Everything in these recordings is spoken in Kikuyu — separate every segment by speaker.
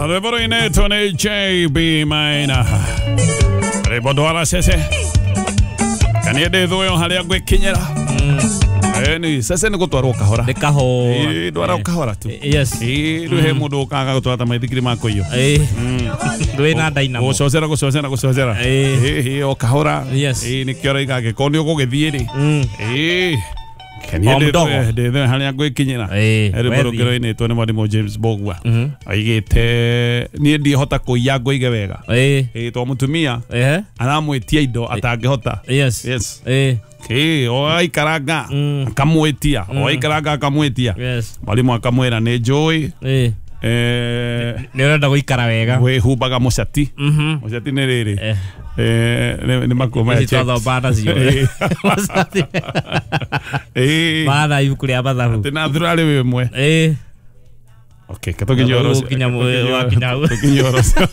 Speaker 1: Rwĩmbo rũinĩtwo nĩ JB Maina, rwĩmbo ndwara cece kanie ndĩ thũyo harĩa ngwĩkinyĩra. Ĩni cece nĩ gũtwarwo kahora.
Speaker 2: Nĩ kahora.
Speaker 1: Ĩĩ, ndwara kahora tu.
Speaker 2: Yes.
Speaker 1: Ĩĩ, rĩu he mũndũ ũkaga gũtwara ta maithikiri ma kũiywo.
Speaker 2: Ĩĩ. Ndwĩ na dynamo.
Speaker 1: Gũcocera, gũcocera, gũcocera.
Speaker 2: Ĩĩ.
Speaker 1: Ĩĩ, ĩĩ, o kahora.
Speaker 2: Yes.
Speaker 1: Ĩĩ, nĩkĩo ũraiga angĩkorwo nĩ ũgũgĩthiĩ rĩ. Ĩĩ. Kenie
Speaker 2: O mdogo.
Speaker 1: ndĩ harĩa ngwĩkinyĩra.
Speaker 2: Ĩĩ,
Speaker 1: Rwĩmbo
Speaker 2: wethiĩ.
Speaker 1: rũngĩ rũinĩtwo nĩ mwarimũ James Bogwa, aigĩte niĩ ndihota kũiya ngũige wega.
Speaker 2: Ĩĩ.
Speaker 1: Ĩĩ, to mũtumia
Speaker 2: Ehe.
Speaker 1: aramwĩtia indo atangĩhota.
Speaker 2: Yes.
Speaker 1: Yes.
Speaker 2: Ĩĩ.
Speaker 1: Ĩĩ, o aikaranga akamwĩtia, o aikaranga akamwĩtia.
Speaker 2: Yes.
Speaker 1: Mwarimũ akamwĩra nĩ njũĩ.
Speaker 2: Ĩĩ. Nĩ ũrenda gũikara wega.
Speaker 1: Wĩhumbaga mũcati. Mũcati nĩ rĩrĩ.
Speaker 2: Eh.
Speaker 1: Nĩ makuo maya
Speaker 2: Ici
Speaker 1: checks.
Speaker 2: twathoma nacio.
Speaker 1: Ĩĩ. Ĩĩ.
Speaker 2: Maana ibuku rĩa mathabu.
Speaker 1: Atĩ na thurarĩ wĩ ĩmwe.
Speaker 2: Ĩĩ.
Speaker 1: Okay, ke tũkinye ũhoro ũcio.
Speaker 2: Gũkinya wakinya hau.
Speaker 1: Tũkinye ũhoro ũcio.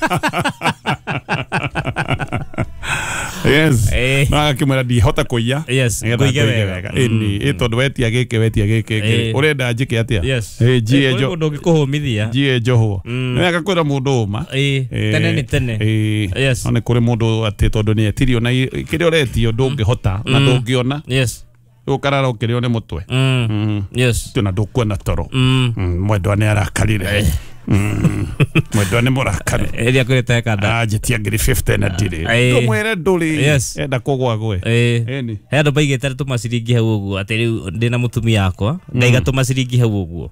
Speaker 1: Yes.
Speaker 2: Ĩĩ.
Speaker 1: No agakĩmwĩra ndihota kũiya.
Speaker 2: Yes,
Speaker 1: nĩgetha
Speaker 2: ngũige
Speaker 1: ngũige
Speaker 2: wega.
Speaker 1: wega. Ĩni, ĩ tondũ wetia gĩkĩ, wetia gĩkĩ,
Speaker 2: Ĩĩ.
Speaker 1: ũrenda njĩke atĩa?
Speaker 2: Yes.
Speaker 1: Ĩ, njiye
Speaker 2: Kũrĩ mũndũ ũngĩkũhũmithia.
Speaker 1: njiye njohwo. Nĩ agakwĩra mũndũ ũma.
Speaker 2: Ĩĩ. Tene nĩ tene.
Speaker 1: Ĩĩ.
Speaker 2: Yes.
Speaker 1: No nĩ kũrĩ mũndũ atĩ tondũ nĩ etirio na kĩrĩa ũretio ndũngĩhota na ndũngĩona.
Speaker 2: Yes.
Speaker 1: Ũkarara ũkĩrĩo nĩ mũtwe.
Speaker 2: Yes.
Speaker 1: Tuna ndũkuona toro. Mwendwa nĩ arakarire. Mwendwa nĩ mũrakaru.
Speaker 2: Ĩrĩa kwĩrĩte kanda.
Speaker 1: Anjĩtia ngiri 50 na ndirĩ.
Speaker 2: Ĩĩ.
Speaker 1: Ndũmwĩre ndũrĩ.
Speaker 2: Yes.
Speaker 1: Enda kũgwa gwe.
Speaker 2: Ĩĩ.
Speaker 1: Ĩni.
Speaker 2: He andũ maigĩte tũmaciringi hau ũguo atĩ rĩu ndĩna mũtumia wakwa ngaiga tũmaciringi hau ũguo.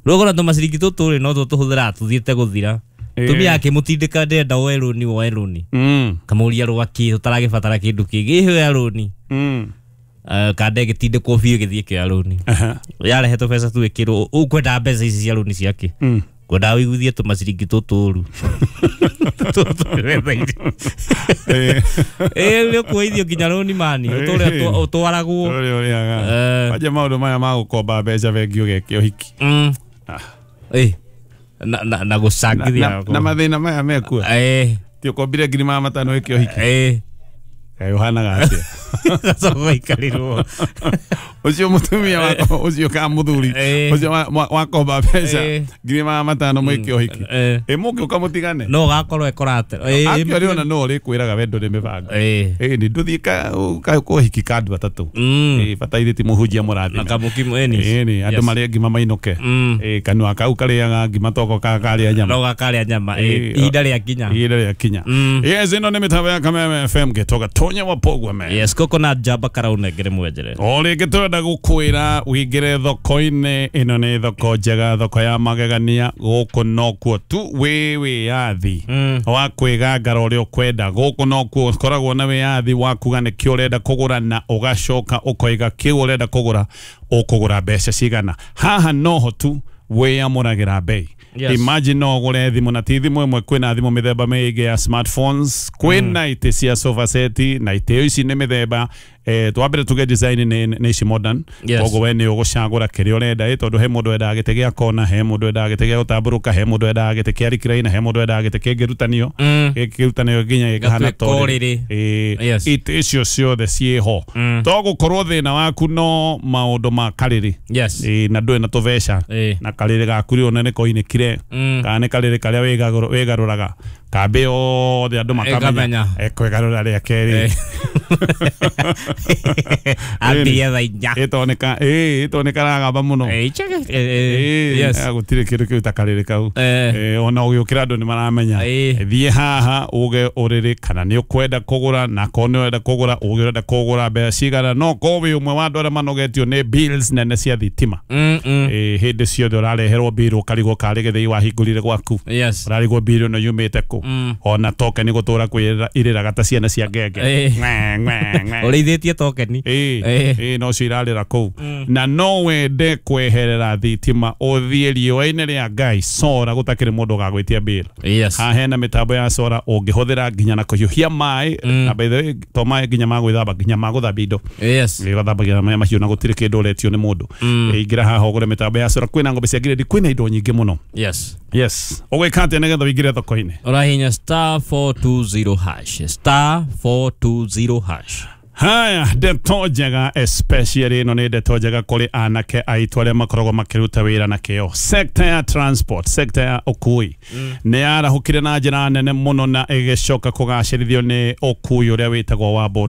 Speaker 2: Rĩu ũkona tũmaciringi tũtũ rĩ no tũ tũhũthĩraga tũthiĩte gũthira.
Speaker 1: Ĩĩ.
Speaker 2: Mũtumia akĩmũtindĩka ndĩrenda woe rũni, woe rũni. Kamũria rwakĩ tũtaragĩbatara kĩndũ kĩngĩ, ĩheo ya rũni. Kanda ĩgĩtindĩkwo biũ ĩgĩthiĩ ĩkĩoya rũni. Yarehe tũbeca tu ĩkĩrwo ũkwenda mbeca ici cia rũni ciake. Ngwendaga ũiguithie tũmaciringi tũtũ ũru. Tũtũ metha-inĩ.
Speaker 1: Ĩĩ.
Speaker 2: Ĩĩ, nĩ ũkuoithio nginya rũni mani ũtũre ũtwaragwo.
Speaker 1: Ũrĩa ũrĩaga.
Speaker 2: Eh.
Speaker 1: Wanja maũndũ maya ma gũkomba mbeca bengi ũgeke ũhiki.
Speaker 2: Ĩĩ. Na gũcangithia.
Speaker 1: Na mathĩna maya mekuo.
Speaker 2: Ĩĩ.
Speaker 1: Ti ũkombire 500,000 wĩke ũhiki.
Speaker 2: Ĩĩ.
Speaker 1: Kaĩ ũhanaga atĩa?
Speaker 2: Gacoka gaikarĩrwo.
Speaker 1: Ũcio mũtumia wakwa, ũcio ka mũthuri.
Speaker 2: Ĩĩ.
Speaker 1: Ũcio wakomba mbeca
Speaker 2: Ĩĩ.
Speaker 1: 500,000 mwĩke ũhiki.
Speaker 2: Ĩĩ.
Speaker 1: Ĩ mũngĩũka mũtigane.
Speaker 2: No gakorwo ekorate. Ĩĩ.
Speaker 1: Actually ona no ũrĩkwĩraga we ndũrĩ mĩbango.
Speaker 2: Ĩĩ.
Speaker 1: Ĩĩ nĩ ndũthiĩ kũhiki ka andũ atatũ. Ĩĩ bataire ti mũhunjia
Speaker 2: Na
Speaker 1: mũrathime.
Speaker 2: kamũkimo ĩni.
Speaker 1: Ĩĩ nĩ andũ
Speaker 2: Yes.
Speaker 1: marĩe ngima mainũke. Ĩĩ kanua kau karĩaga ngima toko karĩa nyama.
Speaker 2: No gakarĩa nyama. Ĩĩ.
Speaker 1: Ĩĩ.
Speaker 2: Ihinda rĩa kinya.
Speaker 1: Ihinda rĩa kinya. Yes, ĩno nĩ mĩtambo ya Kameme FM gĩtoga Tonya wa Pogwa me.
Speaker 2: Yes, coconut jamba karaunengere mwenjere.
Speaker 1: O rĩngĩ tũrenda gũkwĩra wĩingĩre thoko-inĩ ĩno nĩ thoko njega, thoko ya magegania. Gũkũ nokuo tu wĩ wĩyathi wa kwĩgangara ũrĩa ũkwenda. Gũkũ nokuo ũkoragwo na wĩyathi wa kuga nĩkĩ ũrenda kũgũra na ũgacoka ũkoiga kĩu ũrenda kũgũra ũkũgũra mbeca cigana. Haha noho tu wĩyamũragĩra bei.
Speaker 2: Yes.
Speaker 1: Imagine no ũgũre thimũ na ti thimũ ĩmwe, kwĩna thimũ mĩthemba mĩingĩ ya smartphones, kwĩna itĩ cia sofa set na itĩ ici nĩ mĩthemba twambere tuge design nĩ ici modern.
Speaker 2: Yes.
Speaker 1: Koguo we nĩ ũgũcagũra kĩrĩa ũrenda, ĩ tondũ he mũndũ wendaga gĩtĩ gĩa kona, he mũndũ wendaga gĩtĩ gĩa gũtambũrũka, he mũndũ wendaga gĩtĩ kĩa recliner, he mũndũ wendaga gĩtĩ kĩngĩrutanio gĩkĩrutanio nginya gĩkahana
Speaker 2: Gatuĩka
Speaker 1: ta ũrĩrĩ.
Speaker 2: ũrĩrĩ.
Speaker 1: Ĩ,
Speaker 2: Yes.
Speaker 1: itĩ icio ciothe ciĩho. To gũkorwo thĩna waku no maũndũ ma karĩrĩ.
Speaker 2: Yes.
Speaker 1: Ĩ, na ndũrĩ na tũbeca.
Speaker 2: Ĩ.
Speaker 1: Na karĩrĩ gaku rĩ ona nĩ koinĩkire kana nĩ karĩrĩ karĩa wĩgarũraga kambĩ yothe andũ makamenya
Speaker 2: Ĩkamenya.
Speaker 1: ekwĩgarũra rĩa kerĩ.
Speaker 2: Ambirie thaa inya.
Speaker 1: Ĩtoneka ĩ ĩtoneka mũno.
Speaker 2: Ĩĩ, cheke. Ĩĩ,
Speaker 1: Ĩ,
Speaker 2: yes.
Speaker 1: gũtirĩ kĩndũ kĩu ta karĩrĩ kau.
Speaker 2: Eh.
Speaker 1: Ĩ, ona ũgĩũkĩra andũ nĩ maramenya.
Speaker 2: Ĩ.
Speaker 1: Thiĩ haha uge ũrĩrĩ kana nĩ ũkwenda kũgũra, na korwo nĩ ũrenda kũgũra uge ũrenda kũgũra mbeca cigana. No korwo wĩ ũmwe wa andũ arĩa manogetio nĩ bills nene cia thitima. Ĩ, hĩndĩ ciothe ũrareherwo bill ũkarigwo karĩ gĩthĩi wahingũrire gwaku.
Speaker 2: Yes.
Speaker 1: Ũrarigwo bill ĩno yumĩte kũ. Ona token gũtũra kwĩrĩra irĩraga ta ciana cia ngenge.
Speaker 2: Ĩ.
Speaker 1: Ng'e, ng'e, ng'e.
Speaker 2: Ũrĩithĩtie tokeni.
Speaker 1: Ĩ,
Speaker 2: Ĩ.
Speaker 1: ĩ, no cio irarĩra kũu. Na no wende kweherera thitima ũthiĩ riũa-inĩ rĩa Ngai sora gũtakĩrĩ mũndũ ũgagwĩtia bill.
Speaker 2: Yes.
Speaker 1: Haha hena mĩtambo ya sora ũngĩhũthĩra nginya na kũhiũhia maĩ, na by the way to maĩ nginya ma gwĩthamba, nginya ma gũthambia indo.
Speaker 2: Yes.
Speaker 1: Ĩ, ũgathambagia na maĩ mahiũ na gũtirĩ kĩndũ ũretio nĩ mũndũ. Ĩ, ingĩra haha ũgũre mĩtambo ya sora, kwĩna ng'ombe cia grade, kwĩna indo nyingĩ mũno.
Speaker 2: Yes.
Speaker 1: Yes. Ũgwĩka atĩa nĩgetha ũingĩre thoko-inĩ?
Speaker 2: Ũrahinya star 420 hash. Star 420 hash.
Speaker 1: Haya, ndeto njega, especially ĩno nĩ ndeto njega kũrĩ anake aitũ arĩa makoragwo makĩruta wĩra na kĩo. Sector ya transport, sector ya ũkui nĩ yarahũkire na njĩra nene mũno na ĩgĩcoka kũgacĩrithio nĩ ũkui ũrĩa wĩtagwo wa boda.